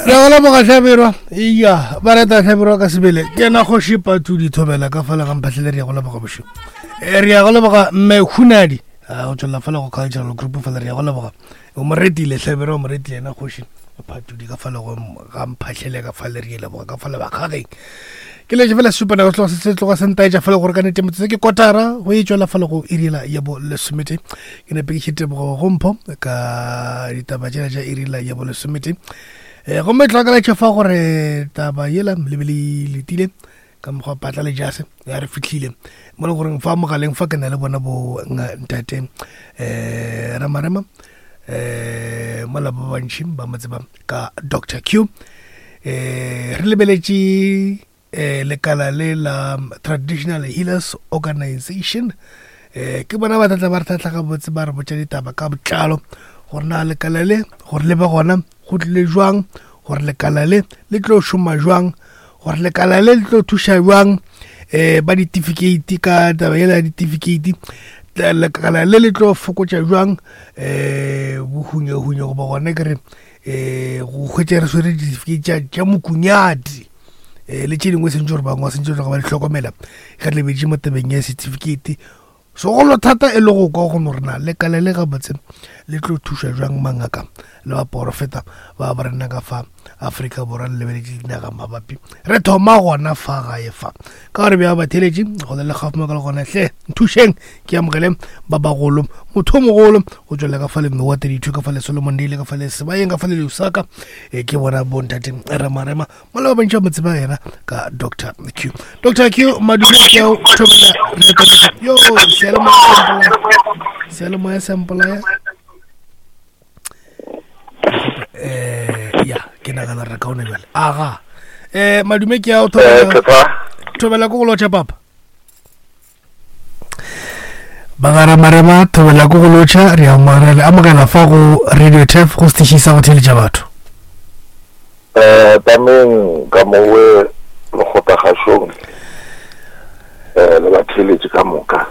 Re go leboga Hlabirwa. Iya, ba reta Hlabirwa ka sebele. Ke yena kgoši Patudi Thobela ka fela ga mphahlele re ya go leboga bošego. Eh, re ya go leboga mme Hunadi. Ah, go tswela fela go cultural group fela re ya go leboga. O mo retile Hlabirwa o mo retile yena kgoši Patudi ka fela go ga mphahlele ka fela re ya leboga ka fela bakgageng. Ke letse fela sesupa nako tloga se tloga se ntaetša fela gore ka nete metsotso ke kotara go e tšwela fela go irila ya bo lesomete. Ke nepe ke tebogo go mpho ka ditaba tšela tša irila ya bo lesomete. Um gomme tlhokala fa gore taba yela le be le letile ka mokgwa patla le jase ya re fitlhile mo le goreng fa mogaleng fa ke na le bona bo ntate um ramarema um mola ba bantši ba mo tseba ka Doctor Q um re lebeletše eh lekala le la Traditional Healers Organization eh ke bona ba tlatla ba re tlhatla gabotse ba re botša ditaba ka botlalo gore na lekala le gore le be gona go tlile jwang gore lekala le le tlo šoma jwang gore lekala le le tlo thuša jwang eh ba ditifikheiti ka taba yela ya ditifikheiti lekala le le tlo fokotša jwang eh bohunyahunye goba gona ke re um go hwetša re swere ditifikeiti tša mokunyati um le tše dingwe sentse gore bangwe ba sentse tloga ba di hlokomela ge re lebetše mo tabeng ya certificate segolo thata e le go kwa go no rena lekala le gabotse le tlo thuša jwang mangaka le baporofeta ba ba rena ka fa Afrika Borwa le lebeletše dinaga mabapi re thoma gona fa gae fa ka gore bja batheletši go le gaufi ka le gona hle nthušeng ke amogele ba bagolo motho o mogolo go tswelela ka fa le mme wa 32 ka fa le Solomon Dile ka fa le Sebayeng ka fa le Lusaka e ke bona bontate Remarema mola ba bantši ba mo tseba yena ka Dr Q Dr Q madume ke ao thobela yo seyalemoya sempolaya eh ya ke nagana re kaone bjale aga eh madume ke ao thobela eh, thobela ko go lotšha papa bagaramarema thobela ko go lotšha re amogela fa go radio tef go setiši sa go theletša batho um tameng ka mowe lekgotlagašong um le batheeletši ka moka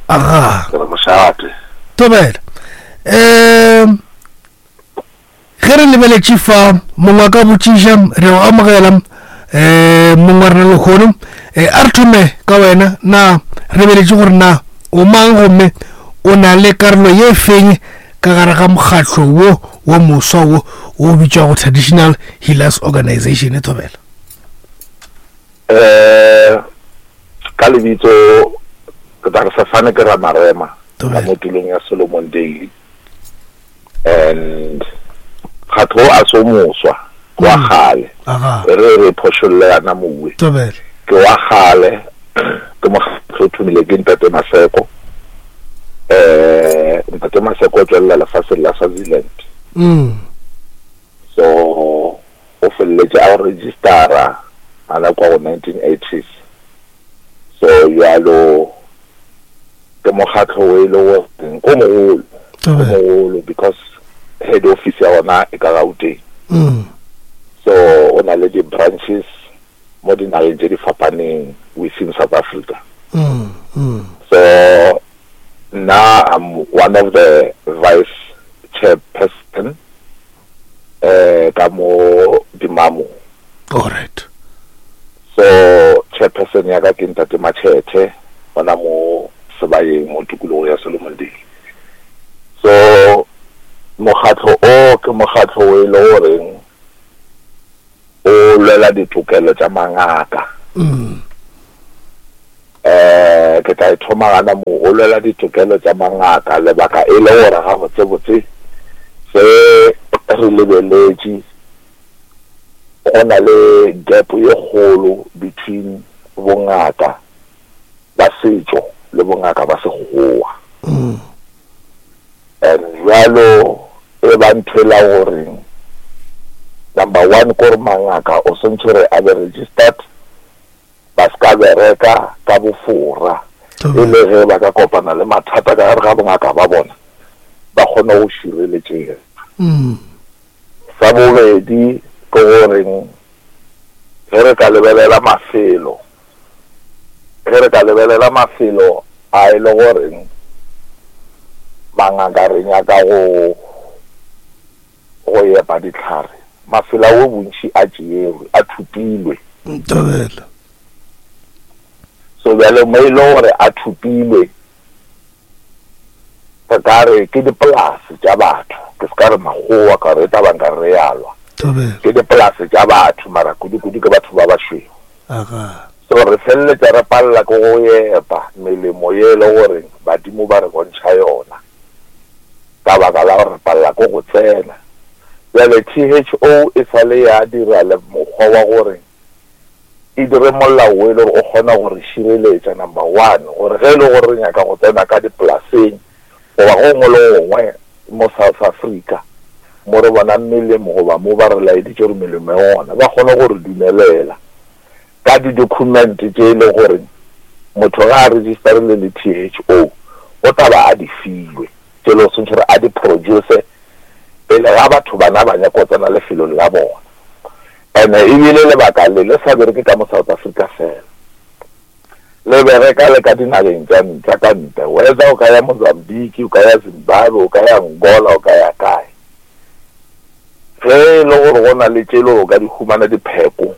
aga ke re mošate thobela um ge re lebeletše fa mongwe a ka botšiša re o amogela um mongwe wa rena lekgono um a re thome ka wena na re lebeletše gore na o mang gomme o na le karolo ye feng ka gare ga mokgatlo wo wo moswa wo o bitšwago Traditional Healers Organization e thobela um ka lebitso ke tla re sefane ke Ramarema ka mo tulong ya Solomon Daily and mokgatlo o a se o moswa ke wa mm. kgale re re phošolle yana mowe ke wa kgale ke mokgatlo o thomile ke ntate Maseko eh ntate Maseko o tswelela lefatsheng la Swaziland mm. so o feleletše a registera gana kwa go 1980s so jalo ke mokgatlo o e le goreng o mogolo o mogolo because head office ya ona e ka Gauteng mm. so o na le di-branches mo dinageng tse di fapaneng within South Africa mm, mm. so nna I'm one of the vice chairperson eh ka mo Dimamo all right so chairperson ya ka ke ntate Machete gona mo Sebayeng mo tikologong ya Solomondale so mokgatlo o ke mokgatlo o e le goreng o lwela ditokelo tša mangaka mm. eh ke tla e thoma gana mo o lwela ditokelo tša mangaka lebaka e le gore ga botsebotse se re lebeletše go na le gap ye kgolo between bongaka ba setšo le bongaka ba sekgowa mm. And bjalo e ba ntho e la goreng number one kore mangaka o swantšhe gore a be registered ba se ka bereka ka bofora e le ge ba ka kopana le mathata ka gare ga bongaka ba bona ba kgone go šireletšega. Mm. Sa bobedi ke goreng ge re ka lebelela mafelo Ge re ka lebelela mafelo a e le goreng mangaka re nyaka go go epa dihlare Mafelo ao bontši a tšeerwe, a thopilwe. Thobela. So bjale mo e le gore a thopilwe, re ka re ke dipolase tša batho, ke se ka re makgowa ka gore e tla ba nka re ya lwa. Thobela. Ke dipolase tša batho mara kudu-kudu ke batho ba bašweu. Aga. So re feleletša re palela ke go epa melemo ye e le gore badimo ba re bontšha yona. Ka baka la gore re palela ke go tsena. Bjale THO e sa le ya dira le mokgwa wa gore e dire molao wo e le gore o kgona go re šireletša, number one, gore ge e le gore re nyaka go tsena ka dipolaseng goba go gongwe le gongwe mo South Africa mo re bonang melemo goba mo ba re laeditše gore melemo e gona, ba kgone go re dumelela ka di-document tše e le gore motho ge a registerile le THO o tla ba a di filwe, tše e le gore swantšhe gore a di produce pele ga batho bana ba nyaka go tsena lefelong la bona. Ene ebile lebaka le le sa bereke ka mo South Africa fela, le bereka le ka dinageng tša tša ka ntle, whether o ka ya Mozambique, o ka ya Zimbabwe, o ka ya Angola, o ka ya kae. Ge e le gore go na le tše le gore o ka di humana dipheko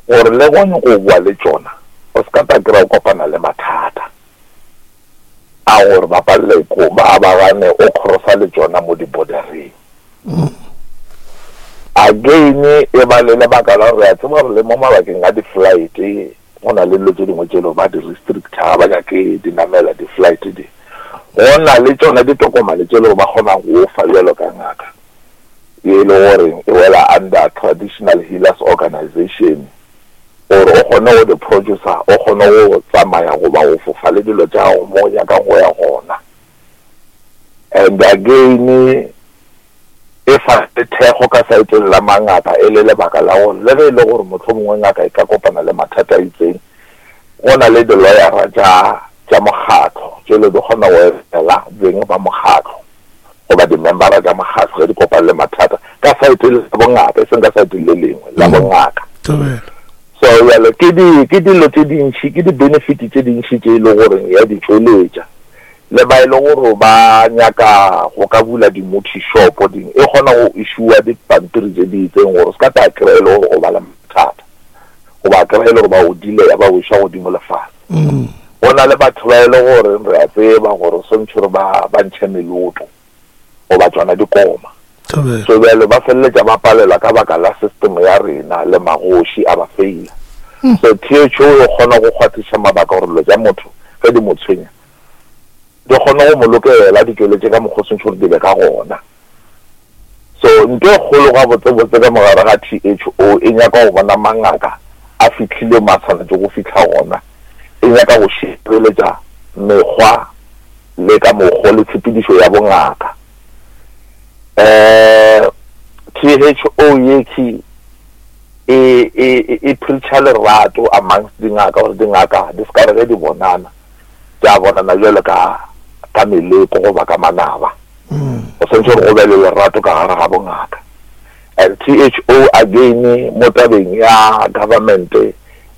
gore le go nyako boa le tšona, o se ka ta kry-a o kopana le mathata a gore ba palele ko ba ba gane o crossa le tšona mo di-bordereng. Again e ba le lebaka la gore re a tseba gore le mo mabakeng a di-flight go na le dilo tše dingwe tše le ba di restricta ga ba nyake di namela di-flight di. Go na le tšona ditokomane tše le gore ba kgona go fa bjalo ka ngaka ye e le gore e wela under Traditional Healers Organization gore o kgone go di producer, o kgone go tsamaya goba go fofa le dilo tša gago mo o nyakang go ya gona. And again e fa le thekgo ka saeteng la mangaka e le lebaka la gore le ge e le gore mohlomongwe ngaka e ka kopana le mathata a itseng, go na le diloyara tša tša mokgatlo tšele di kgona go emela beng ba mokgatlo goba dimembara tša mokgatlo ge di kopane le mathata ka saeteng la bongaka, e seng ka saeteng le lengwe la bongaka. So bjale ke di ke dilo tše dintši, ke di-benefit tše dintši tše e le goreng ya di tšweletša. Le ba e le gore ba nyaka go ka bula di-muthi shop ding, e kgona go issuer dipampiri tše di itseng gore o se ka tla kry-a e le gore o ba le mathata goba kry-a e le gore ba o delaya ba o iša godimo le fase. Go na le batho ba e le gore re a tseba gore swantšhe gore ba ba ntšhe meloto goba tšona dikoma. So bjale ba feleletša ba palelwa ka baka la system ya rena le magoši a ba faila. So THO e kgona go kgwathiša mabaka gore dilo tša motho ge di mo tshwenya di kgone go mo lokela, di tšweletše ka mokgwa o swantšhe gore di be ka gona. So nto e kgolo gabotsebotse ka mogare ga THO e nyaka go bona mangaka a fihlile mo a swanetše go fihla gona, e nyaka go šireletša mekgwa le ka mokgo le tshepedišo ya bongaka. Um THO yekhi e, e, e preacha lerato amongst dingaka gore dingaka di se ka re ge di bonana tša bonana bjalo ka ka meleko goba ka manaba. Go swanetše gore go be le lerato ka gare ga bongaka. And THO again mo tabeng ya government e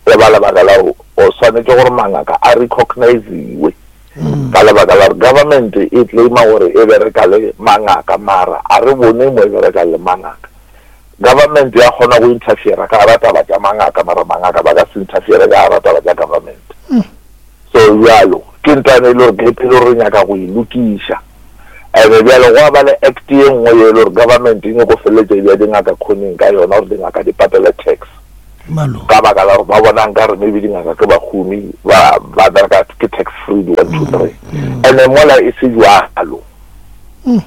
ba lebaka la gore o swanetše gore mangaka a recogniziwe ka lebaka la gore government e claima gore e bereka le mangaka mara a re bone mo e bereka le mangaka. Government ya kgona go interfere ka gara taba tša mangaka mara mangaka ba ka se interfere ka gara taba tša government. So bjalo ke ntwana e le gore gap e le gore re nyaka go e lokiša. Ene bjale gwa ba le act ye nngwe ye e le gore government e nyako feleletša e bea dingaka khoneng ka yona gore dingaka di patele tax. Ka baka la gore ba bona nkare maybe dingaka ke bahumi ba ba bereka ke tax free di 1 2 3. Ene mola e se jwalo.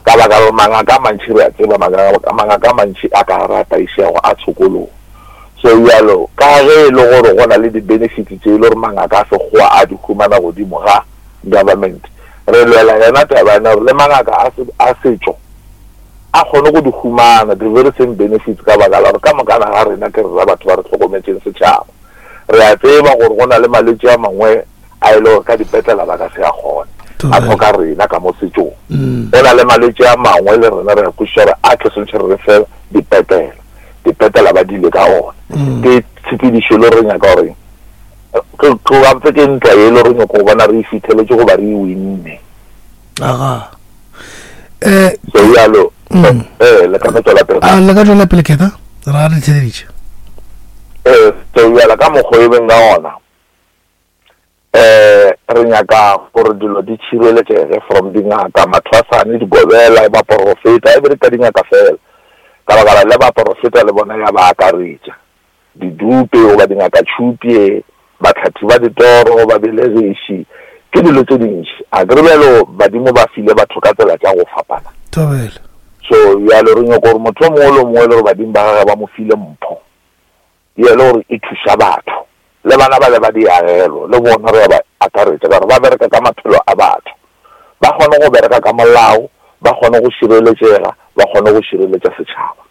Ka baka la gore mangaka a mantši re a tseba mangaka a mantši a ka gare a tlaišego a tshokologo. So bjalo ka ge e le gore go na le di-benefits tše e le gore mangaka a sekgowa a di humana godimo ga government, re lwela yona taba yena gore le mangaka a a setšo a kgone go di humana the very same benefits ka baka la gore ka mokana ga rena ke rena batho ba re hlokometšeng setšhaba. Re a tseba gore go na le malwetši a mangwe a e le gore ka dipetlela ba ka se a kgone, a hloka rena ka mo setšong. Go na le malwetši a mangwe le rena re a kwešiša gore a ke swantšhe re re fe dipetlela, dipetlela ba dile ka ona. Ke tshepedišo e le gore re nyaka gore ke gantse ke ntwa ye e le gore nyako go bona re e fitheletše goba re e winne. Aga. So bjalo. Ee, le ka no tswela pele. A le ka tswela pele khetha ra re theleditše. Ee, so bjala ka mokgwa e beng ka ona eh re nyaka gore dilo di tšhireletšege from dingaka, mathwasane, digobela, baporofeta, e be re ka dingaka fela ka baka la le baporofeta le bona ya ba akaretša. Didupe goba dingakatšhupye, bahlathi ba ditoro, babelegiši, ke dilo tše dintši. A ke re bjalo badimo ba file batho ka tsela tša go fapana. Thobela. So bjalo re nyoko gore motho o mongwe le o mongwe e le gore badimo ba gage ba mo file mpho ye le gore e thuša batho. Le bana bale ba diagelo le bona re ya ba akaretša ka gore ba bereka ka maphelo a batho. Ba kgone go bereka ka molao, ba kgone go šireletšega, ba kgone go šireletša setšhaba.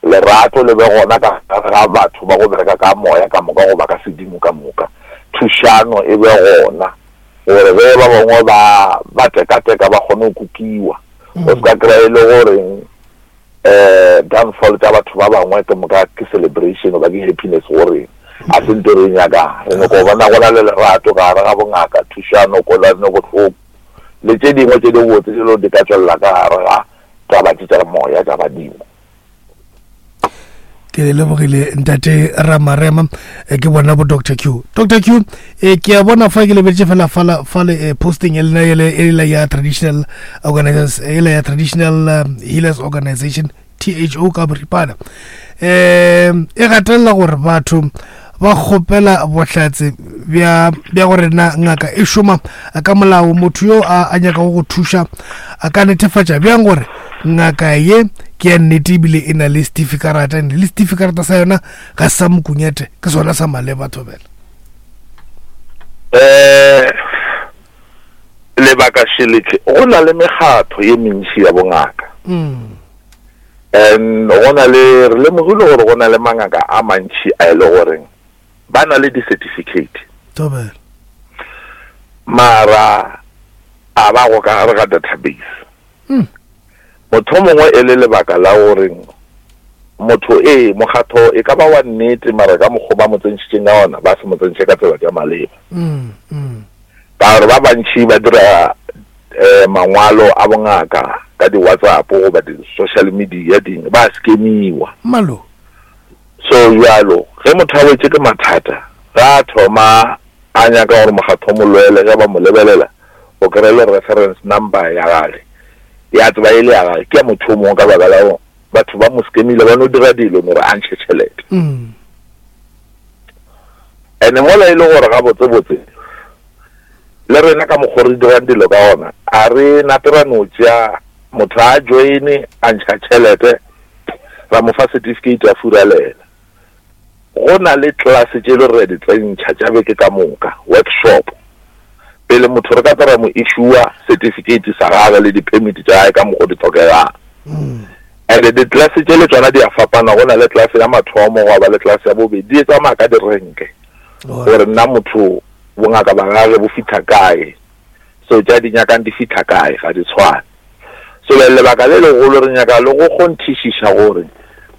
Lerato le be gona ka gare ga batho ba go bereka ka moya ka moka goba ka sedimo ka moka. Thušano e be gona gore ge ba bangwe ba ba tekateka ba kgone go kukiwa. O se ka kry-a e le goreng um downfall tša batho ba bangwe ke moka ke celebration goba ke happiness go rena. A se nto re e nyakang. Re nyaka go bona go na le lerato gare ga bongaka, thušano, kwelano bohloko le tše dingwe tše dibotse tše di ka tšwelela ka gare ga taba tše tša moya tša badimo. Ke le lebogile ntate Ramarema, eh, ke bona bo Dr Q. Dr Q, eh, ke a bona fa ke lebetse fela fala fale eh, posting e lena ele ele ya traditional organizers ele ya traditional um, healers organization THO ka boripana um e gatelela gore batho ba kgopela bohlatse bja bja gore na ngaka e šoma ka molao. Motho yo a a nyakago go thuša a ka netefatša bjang gore ngaka ye ke ya nnete ebile e na le setifikarata, and le setifikarata sa yona ga se sa mokunyete, ke sona sa maleba? Thobela. Um lebaka šeleke go na le mekgatho ye mentši ya bongaka and go na le, re lemogile gore go na le mangaka a mantši a e le goreng ba na le di-certificate. Thobela. Mara a ba go ka gare ga database. Motho mongwe e le lebaka la goreng motho ee mokgatho e ka ba wa nnete, mara ka mokgwa ba mo tsentšhitšeng ka ona ba se mo tsentšhe ka tsela tša maleba. Ka gore ba bantši ba dira um mangwalo a bongaka ka di-WhatsApp goba di-social media dingwe, ba scamiwa. Malo. So bjalo ge motho a wetše ke mathata, ge a thoma a nyaka gore mokgatho o mo lwele, ge ba mo lebelela o kry-e le reference number ya gage ya tseba e le ya gage ke ya motho o mongwe, ka baka la gore batho ba mo scamile, ba no dira dilo no re a ntšhe tšhelete. Ene mola e le gore gabotsebotse le rena ka mokgwa re dirang dilo ka ona, a re nape ra no tšea motho a joine a ntšha tšhelete ra mo fa certificate a furalela. Go na le class tše le re di tsentšha tša beke ka moka, workshop, pele motho re ka tla ra mo issue certificate sa gagwe le di-permit tša gage ka mokgwa di tlhokegang. And di-class tše le tšona di a fapana, go na le class ya mathomo, gwa ba le class ya bobedi, di tsamaya ka direnke gore nna motho bongaka ba gage bo fihla kae, so tša di nyakang di fihla kae, ga di tshwane. So lebaka le legolo re nyaka le go kgonthišiša gore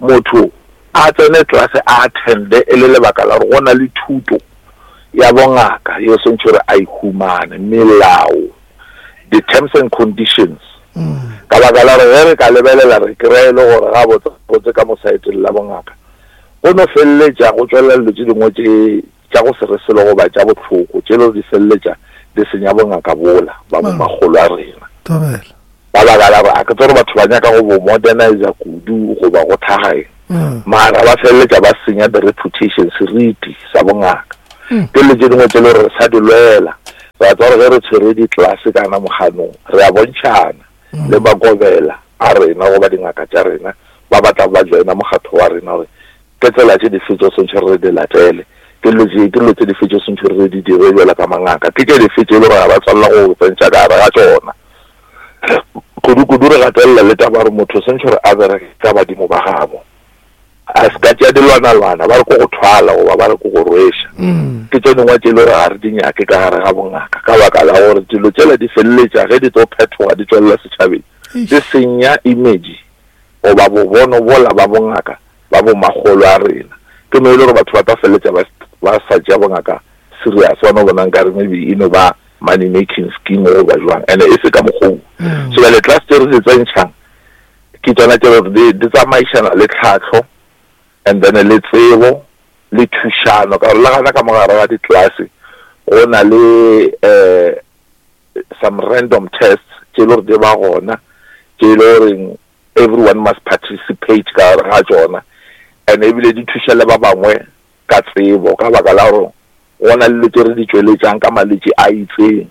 motho a tsene class a attende e le lebaka la gore go na le thuto ya bongaka yo swantšhe gore a e humane, melao, the terms and conditions. Ka baka la gore ge re ka lebelela re kry-e le gore gabotse botse ka mo saeteng la bongaka go no feleletša go tšwelela dilo tše dingwe tše tša go se re selo goba tša bohloko tše le di feleletša di senya bongaka bola ba bo makgolo a rena. Thobela. Ka baka la gore a ke tsebe gore batho ba nyaka go bo modernizer kudu goba go thaga eng, mara ba feleletša ba senya the reputation, seriti sa bongaka. Ke dilo tše dingwe tše le gore re sa di lwela. Re a tseba gore ge re tshwere di-class kana moganong re a bontšhana le makobela a rena goba dingaka tša rena ba ba tla ba joina mokgatho wa rena gore ke tsela tše dife tše swantšhe re di latele, ke dilo tše ke dilo tše dife tše swantšhe re di dire bjalo ka mangaka, ke tše dife tše e le gore ga ba tshwanela go tsentšha ka gare ga tšona. Kudu-kudu re gatelela le taba gore motho swantšhe gore a bereke ka badimo ba gabo, a se ka tšea dilwanalwana ba re ko go thwala goba ba re ko go rweša. Ke tše dingwe tše e le gore ga re di nyake ka gare ga bongaka, ka baka la gore dilo tšela di feleletša ge di tlo phethoga di tšwelela setšhabeng di senya image goba bobono bola ba bongaka ba bomakgolo a rena. Ke no e le gore batho ba tla feleletša ba ba sa tšea bongaka serious, ba no bona nkare maybe e no ba. money making scheme goba jwang and e se ka mokgoo mm. So bjale class tse re di tsentšhang ke tsona tse gore di tsamaišana le tlhahlo and then le tsebo le thušano ka gore le gana ka mogare ga ditlelase go na le um some random tests tše e le gore di ba gona tše e le goreng everyone must participate ka gare ga tšona and ebile di thuša le ba bangwe ka tsebo ka baka la gore go na le dilo tše re di tšweletšang ka malwetši a itseng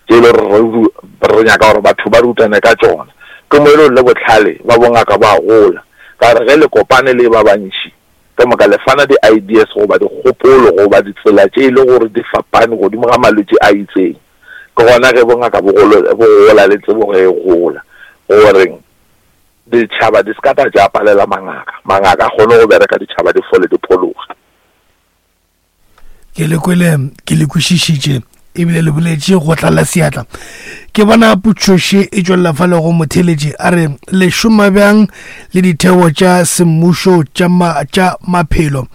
tše e le gore re nyaka gore batho ba rutane ka tšona. Ke mo e le gore le bohlale ba bongaka bo a gola ka gore ge le kopane le ba bantši ka moka le fana di-ideas goba dikgopolo goba ditsela tše e le gore di fapane godimo ga malwetši a itseng. Ke gona ge bongaka bo gola le tsebo ge e gola gore ditšhaba di se ka tla tša palela mangaka, mangaka a kgone go bereka ditšhaba di fole di phologe. Ke le kwele, ke le kwešišitše ebile le boletše go tlala seatla. Ke bona putšoše e tšwelela fa le go motheletše a re le šoma bjang le ditheo tša semmušo tša ma, tša maphelo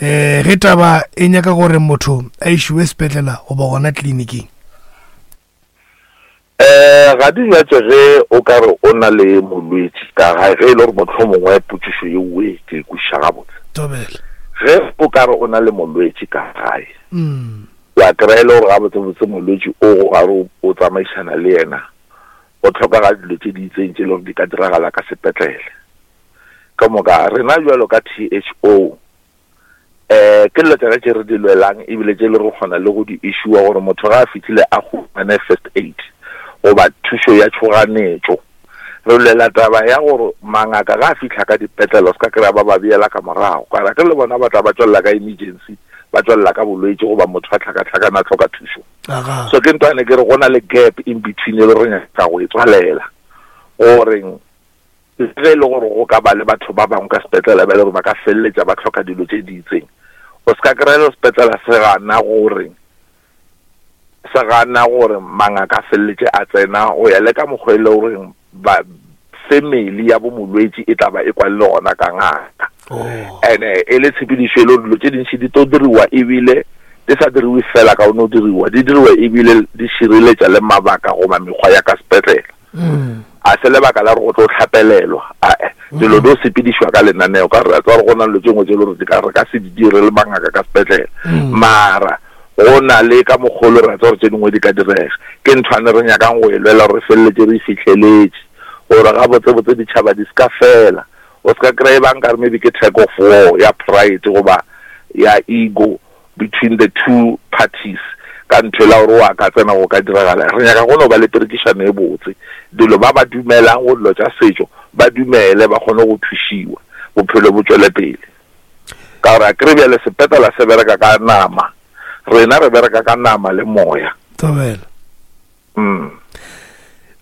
um ge taba e nyaka gore motho a išiwe sepetlela goba gona tleliniking. Um ga di nyatše ge o ka re o na le molwetši ka gae, ge e le gore mohlomongwe potšišo yeoe ke e kwešiša gabotse. Thobela. Ge o ka re o na le molwetši ka gae, wa kry-a e le gore gabotsebotse molwetši o go gare o tsamaišana le yena, go hlokega dilo tše di itseng tše e le gore di ka diragala ka sepetlele. Ka moka rena bjalo ka THO, um ke dilo tšona tše re di lwelang ebile tše le re kgona le go di issuwa gore motho ga a fihlile a humane first aid goba thušo ya tšhoganetšo. Re lwela taba ya gore mangaka ga a fihla ka dipetlele o se ka kry-a ba ba beela ka morago ka gore ke le bona ba tla ba tšwelela ka emergency ba tšwelela ka bolwetši goba motho a hlakahlakana a hloka thušo. So ke ntwane ke re go na le gap in between e le re nyaka go e tswalela gore Le ge e le gore go ka ba le batho ba bangwe ka sepetlele ba e le gore ba ka feleletša ba hloka dilo tše di itseng, o se ka kry-a le sepetlele se gana gore se gana gore mangaka a feleletše a tsena go ya le ka mokgwa e le goreng ba family ya bo molwetši e tla ba e kwane le gona ka ngaka. Oh. And-e e le tshepedišo e le gore dilo tše dintši di tlo diriwa ebile di sa diriwe fela ka o no diriwa, di diriwa ebile di šireletša le mabaka goba mekgwa ya ka sepetlele. Mm. A se lebaka la gore go tlo hlapelelwa, ae. Dilo di sepedišwa ka lenaneo, ka gore re a tseba gore go na le dilo tše dingwe tše e le gore di ka re ka se di dire le mangaka ka sepetlele. Mm. Mara go na le ka mokgolo re a tseba gore tše dingwe di ka direga. Ke nthwane re nyakang go e lwela gore re feleletše re e fihleletše, gore gabotsebotse ditšhaba di se ka fela. O se ka kry-a e ba nkare maybe ke tag of war ya pride goba ya ego between the two parties ka ntho ela gore wa ka tsena go ka diragala. Re nyaka go no ba le perekišano e botse. Dilo ba ba dumelang go dilo tša setšo ba dumele ba kgone go thušiwa, bophelo bo tšwele pele. Ka gore akere bjale sepetlela se bereka ka nama, rena re bereka ka nama le moya. Thobela. Mm.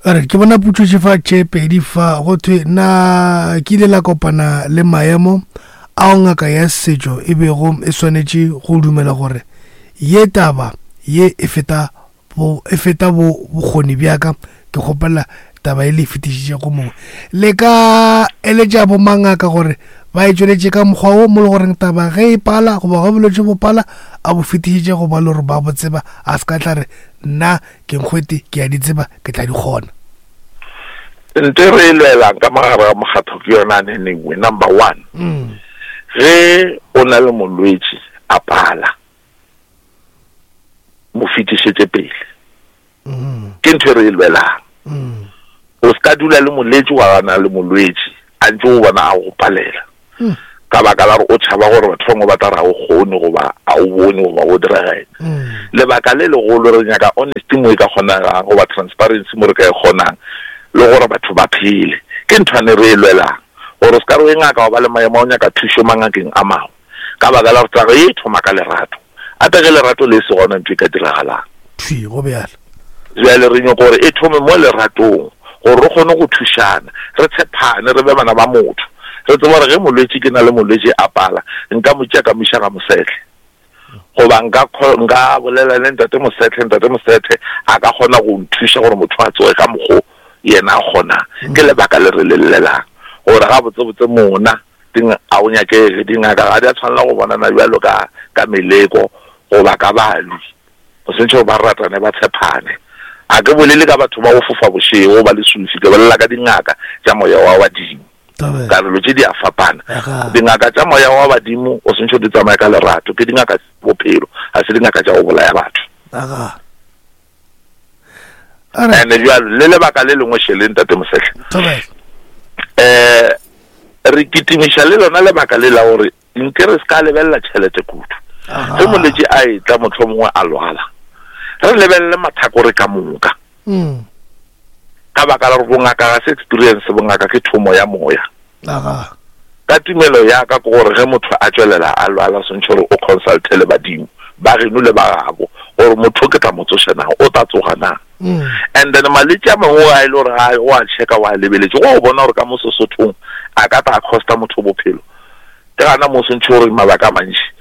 Alright, ke bona putšo fa tše pedi fa go thwe na ke ile la kopana le maemo ao ngaka ya setšo e bego e swanetše go dumela gore ye taba ye e feta bo e feta bo bokgoni bja ka ke kgopela taba e le e fetišitše go mongwe le ka eletša bomangaka gore ba e tšweletše ka mokgwa wo mo le goreng taba ge e pala goba ge bolwetši bo pala a bo fetišitše go ba le gore ba bo tseba a se ka tla re Nna ke nkgwete, ke a di tseba, ke tla di kgona. Nto e re e lwelang ka mogare ga mokgatho ke yona anenengwe. Number one, ge o na le molwetši a pala, mo fetišetše pele. Ke ntho e re e lwelang. O se ka dula le moletši wa gana le molwetši a ntše o bona a go palela ka baka la gore o tšhaba gore batho bangwe ba tla re ga o kgone goba a o bone goba go direga eng. Lebaka le legolo re nyaka honesty mo e ka kgonegang goba transparency mo re ka e kgonang le gore batho ba phele. Ke nthwane re e lwelang gore o se ka re o e ngaka wa ba le maemo a go nyaka thušo mangakeng a mangwe ka baka la gore taba ye e thoma ka lerato. Gape ge lerato le se gona ntho e ka diragalang. Thwi, go bjalo. Bjale re nyoko gore e thome mo leratong, gore re kgone go thušana, re tshephane, re be bana ba motho. Re tsebe gore ge molwetši, ke na le molwetši a pala, nka mo tšea ka mo iša ga Mosehle. Goba nka, nka bolela le Ntate Mosehle, Ntate Mosehle a ka kgona go nthuša gore motho a tsoge ka mokgo yena a kgonang. Ke lebaka le re le llelang, gore gabotsebotse mona Ding a o nyakege. Dingaka ga di a tshwanela go bonana bjalo ka, ka meleko goba ka balwi. O swantšhe gore ba ratane, ba tshephane. A ke bolele ka batho ba go fofa bošego ba leswiswi, ke bolela ka dingaka tša moya wa badimo. Ka dilo tše di a fapana. Dingaka tša moya wa badimo o swantšhe di tsamaye ka lerato, ke dingaka tša bophelo, ga se dingaka tša go bolaya batho. Ene bjalo le lebaka le lengwe šele ntate Mosehle. Eh re kitimiša le lona lebaka le la gore Nke re se ka lebelela tšhelete kudu. Ge molwetši a etla mohlomongwe a lwala, re lebelele mathakore ka moka. Mm. Ka baka la gore bongaka ga se experience, bongaka ke thomo ya moya. Ka tumelo ya ka ke gore ge motho a tšwelela a lwala swantšhe gore o consulte le badimo ba geno le ba gabo gore motho ke tla mo tsoša na, o tla tsoga na. Mm. And then malwetši a mangwe a e le gore ga o a checka wa lebeletše go bona gore ka mo Sesothong a ka tla costa motho bophelo. Ke gana mo o swantšhe gore mabaka a mantši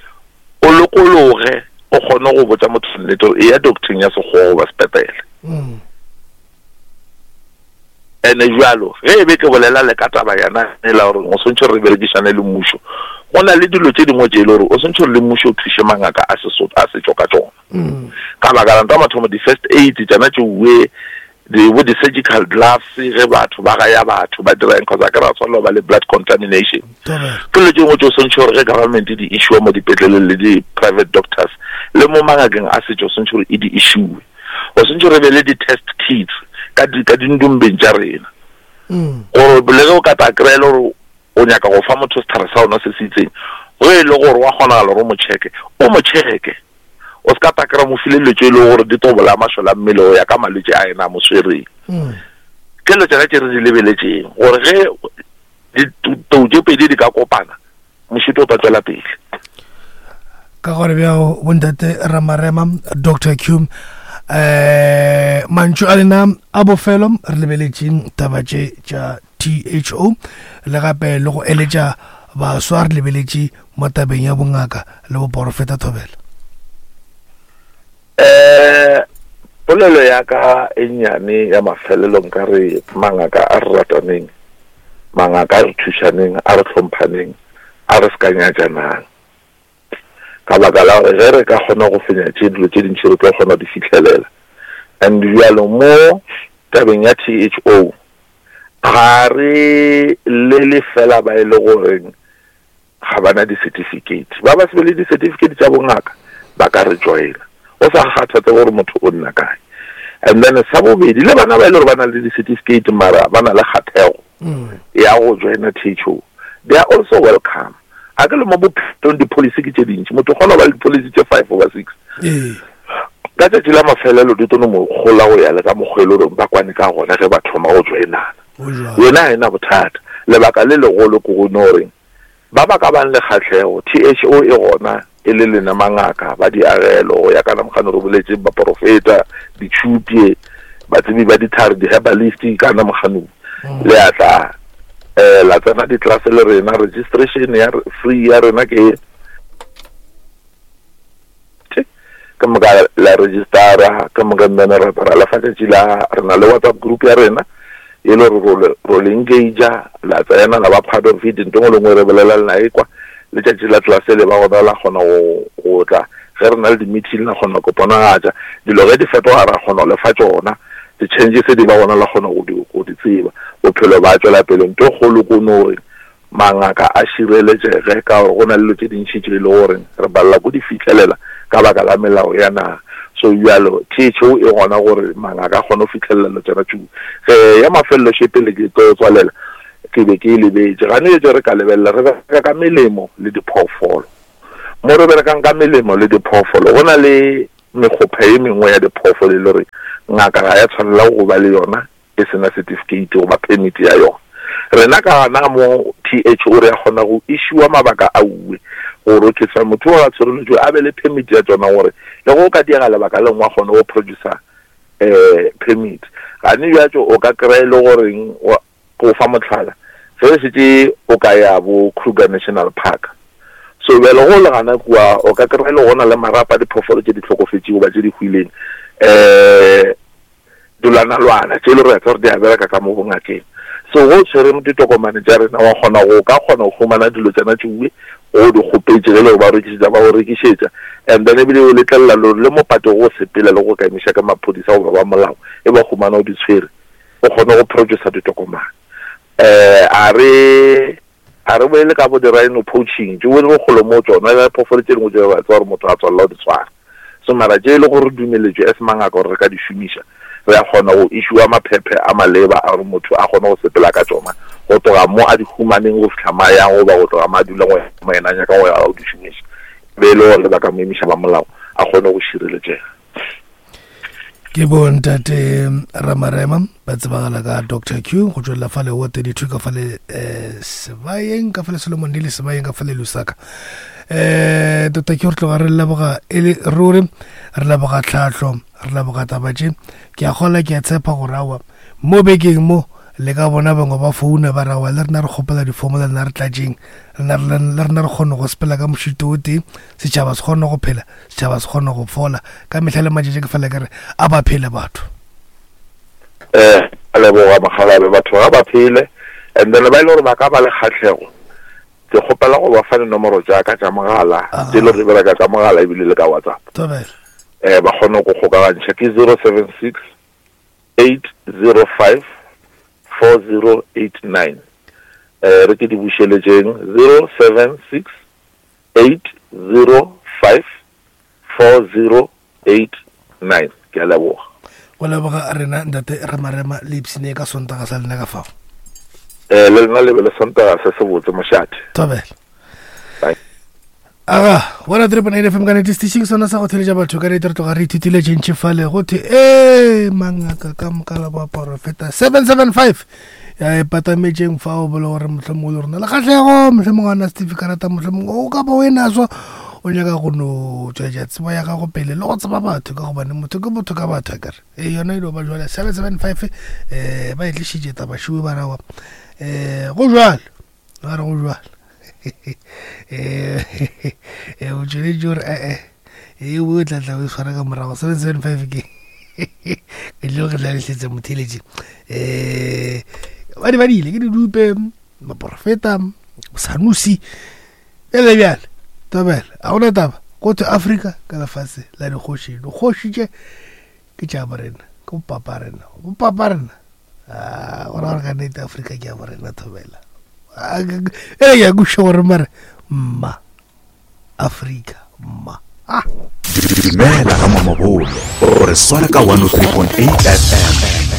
o lokologe o kgone go botša motho nnete gore eya docteng ya sekgowa goba sepetlele. Mm. Ene jalo ge e be ke bolela le ka taba yana e la gore o swantšhe gore re berekišane le mmušo, go na le dilo tše dingwe tše e le gore o swantšhe gore le mmušo o thuše mangaka a Sesotho a setšo ka tšona. Mm. Ka baka la ntwa mathomo di-first aid tšana tšeuwe di bo di-surgical gloves ge batho ba gaya batho ba dira eng cause a ke ra tshwanela ba le blood contamination ke dilo tše dingwe tše o swantšhe gore ge government di issue mo dipetleleng le di-private doctors le mo mangakeng a setšo o swantšhe gore e di issue o swantšhe re be le di-test kits ka di ka dindumbeng tša rena mm. gore le ge o ka tla kry-e le gore o nyaka go fa motho setlhare sa ona se se itseng ge e le gore wa kgonagala gore o mo checke o mo checke O se ka takera mo file dilo tše e lego gore di tlo bolaya mašole a mmele go ya ka malwetši a yena a mo swereng. Mm. Ke dilo tšona tše re di lebeletšeng gore ge ditou tše pedi di ka kopana mošito o tla tšwela pele. Ka gore bjao bontate Ramarema Dr Q eh mantšu a lena a bofelo re lebeletše taba tše tša THO le gape le go eletša baswa re lebeletše mo tabeng ya bongaka le boporofeta thobela? Um polelo ya ka e nnyane ya mafelelo nka re mangaka a re rataneng, mangaka a re thušaneng, a re hlomphaneng, a re se ka nyatšanang. Ka baka la gore ge re ka kgona go fenya tše dilo tše dintši re tlo kgona go di fihlelela. And bjalo mo tabeng ya THO ga re lele fela ba e le goreng ga ba na di-certificate. Ba ba se be le di-certificate tša bongaka ba ka re joina go sa kgathatse gore motho o nna kae. And then sa bobedi le bana ba e le gore ba na le di-certificate mara ba na le kgathego mm. ya go joina THO, they are also welcome. A ke le mo bophelong di-policy ke tše dintši, motho o kgona go ba le di-policy tše five goba six. Ee. Ka tšatši la mafelelo di tlo no mo gola go ya le ka mokgwa e le gore ba kwane ka gona ge ba thoma go joinana. Yona ga e na bothata. Lebaka le legolo ke go no reng Ba ba ka bang le kgahlego, THO e gona e le lena mangaka ba diagelo, go ya ka namkgano re boletše, baporofeta, ditšhupye, batsebi ba dithare, di-herbalist, ka namkgano mm. le a tla eh, la tsena ditlelase le rena. Registration ya free ya rena ke ke moka la registera ke moka mmene ra ra lefa tšatši la re na le whatsapp group ya rena e le gore ro le engagea la tsena la ba part of it nto ngwe le ngwe re bolela le na e kwa letšatši la tlelase le ba gona la kgona go tla ge re na le di-meeting la kgona go ponagatša dilo ge di fetoga ra kgona go lefa tšona di-changes di ba gona la kgona go di tseba bophelo ba tšwela pele nto kgolo ko no gore Mangaka a šireletšege ka gore go na le dilo tše dintši tše e le gore re palela ko di fihlelela ka baka la melao ya naga. So bjalo THO e gona gore mangaka a kgone go fihlelela dilo tšona tšeo. Ge ya mafelelo še pele ke tlo tswalela ke be ke e lebetše. Gane tše re ka lebelela re bereka ka melemo le diphoofolo. Mo re berekang ka melemo le diphoofolo go na le mekgopha ye mengwe ya diphoofolo e le gore ngaka ga ya tshwanela go ba le yona e se na setifikeiti goba phemiti ya yona. Rena ka gana mo THO re a kgona go issuer mabaka a uwe gore okay sa motho o a tshwereletšwe a be le phemiti ya tšona gore le go ka diega lebaka le nngwe a kgone go producer um permit. Gane bjatšo o ka kry-a e le goreng go fa mohlala ge e šetše o ka ya bo Kruger National Park so bjale go le gana kua o ka kry-a e le go na le marapa a diphoofolo tše di hlokofetšego goba tše di hwileng um Dilwanalwana tše le re tseba gore di a bereka ka mo bongakeng. So go tshwere ditokomane tša rena wa kgona go ka kgona go humana dilo tšana tšeue go di kgopetše ge le go ba rekišetša ba go rekišetša and then ebile o letlelela le le mo pate go sepela le go ka emiša ka maphodisa goba ba molao e ba humana o di tshwere o kgone go producer ditokomane. Eh a re a re boele ka bo di-rhino poaching tšeo le bokgolo mo tšona le phoofolo tše dingwe tše ba tseba gore motho a tswalela go di tshwara so mara tše e le gore dumeletšwe as mangaka gore re ka di šomiša re a kgona go issuea maphephe a maleba a gore motho a kgone go sepela ka tšona go tloga mo a di humaneng go fihla ma yang goba go tloga ma dulang go ya mo yena a nyaka go ya go di šomiša be e le gore ba ka mo emiša ba molao a kgone go šireletšega. Ke bontate Ramarema ba tsebagala ka Dr Q go tšwelela fale wo 32 ka fale eh, sebayeng ka fale Solomon le sebayeng ka fale Lusaka. Eh Dr Q re tloga re leboga e le ruri re leboga tlhahlo re leboga taba tše ke a kgola ke a tshepa gore awa mo bekeng mo le ka bona bangwe ba founa ba rawa le rena re kgopela difomo le rena re tlatšeng le rena re kgone go sepela ka mošito o tee setšhaba se kgone go phela setšhaba se kgone go fola ka mehla le matšatši ke fela ke re a ba phele batho. Eh, a leboga mokgalabe batho ga ba phele and then ba e le gore ba ka ba le kgatlhego ke kgopela go ba fa dinomoro tša ka tša mogala tše le gore di bereka ka mogala ebile le ka WhatsApp. Thobela. Eh, ba kgone go kgokagantšha ke 076 805 4089. Eh, re ke di bušeletšeng 076 8054089. Ke a leboga. Go leboga rena ntate Ramarema le ipsine ka Sontaga sa lena ka fao. Eh, le lena le be le Sontaga se sebotse mošate. Thobela. Bye. Aga, 103.8 FM ka nete station sona sa go theletša batho ka nete re tloga re ithutile tše ntši fale go thwe ee mangaka ka moka la baporofeta 775 ya e patametšeng fao bole gore mohlomongwe le rona le kgatlhego mohlomongwe a na certificarata mohlomongwe o ka ba o e naso o nyaka go no tšwetša tsebo ya gago pele le go tseba batho ka gobane motho ke motho ka batho akere e yona e no ba jwale 775 um ba e tlišitše tabašiwe ba rawa um go jwalo ba re go jwalo um o tšweletše gore ee e o tla tla o e tshwara ka morago 775 ke ke tlo re tlalesetsa motheletše um ba di badile ke didupe baporofeta sanusi bjale bjale tabela a gona taba go thwe Afrika ka lefase la dikgoši dikgoši tše ke tša borena ke bopapa rena bopapa rena ah, gona gore ka nnete Afrika ke ya borena thobela ele ke ya kuša gore mare mma Afrika mma ah. Dumela ga Mamabolo o re swara ka 103.8 FM.